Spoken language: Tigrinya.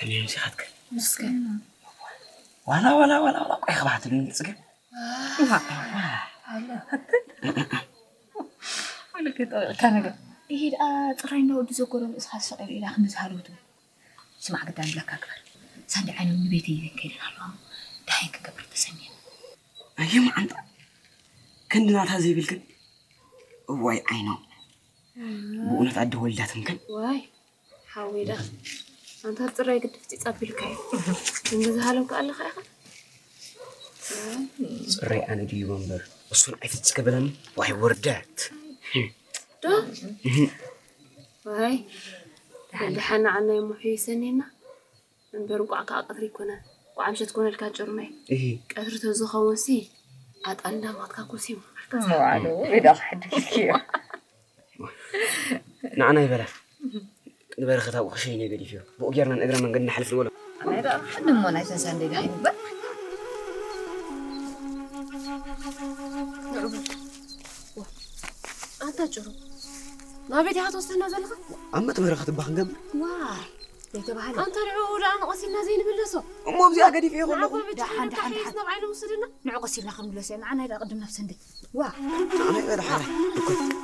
ከመይ ምሲኻትከ? ምስከ ዋላ ዋላ ዋላ ዋላ ቆይ ክባትልኒ ጽገም። ይሄ ደኣ ጽራይ እንዳ ወዲ ዘጎረ ርእስኻ ዝሰቐለ ኢላ ክንዲ ዝሃለውቱ። ስማዕ ግዳ ንብለካ ግበር። ሳንዲ ዓይኖም ንቤት ይዘን ከይደን ኣለዋ። ደሃይን ክገብር ተሰሚየን። ኣየ መዓንጣ ክንዲ ናታ ዘይብልክን። እዋይ ዓይኖም ብእውነት ኣደ ወልዳትም ከን። ዋይ ሓወይ ደኣ ኣንታ ጽራይ ግድፍቲ ጸቢልካዮ። እንደ ዝሃለውካ ኣለኻ ኢኻ። ጽራይ ኣነ ድዩ መንበር እሱን ኣይፍጽ ከበለኒ። ዋይ ውርደት። ዶ ዋይ ደሓን ንዓና ይሙሑ ይሰኒና። እምበር እንቋዕ ከዓ ቀትሪ ይኮነ እንቋዕ ምሸት ኮነልካ ጭሩመይ። እሂ ቀትሪ ተዝኸውን ሲ ኣጣል እንዳማትካ ኩሲ ምበልካ። መዋሉ ኢዳ ክሕድግኪዮ። ንዓና ይበላ ንበረኸት ኣብኡ ክሸይነ ገዲፍዮ ብኡ ጌርና ንእግረ መንገድ ንሓልፍ ንበሎ። ኣነ ደኣ ሕድሞ ናይ ተንሳንደይ ደሃይ ንግበር። ኣንታ ጭሩ ናበይ ዲኻ ትወስደና ዘለኻ? ኣብ መጥበሪ ክትባ ክንገብር። ዋይ ዘይተባህለ። ኣንታ ንዕኡ ደኣ ንቐሲልና ዘይንምለሶ። እሞ ኣብዚኣ ገዲፈዮ ከለኹ። ደሓን ደሓን ደሓን። ናብ ዓይነ ውስድና። ንዑ ቀሲልና ክንምለሶ ኢና። ንዓናይ ደኣ ቅድም ናብ ሰንደይ። ዋ። ንዓናይ ደኣ ደሓን።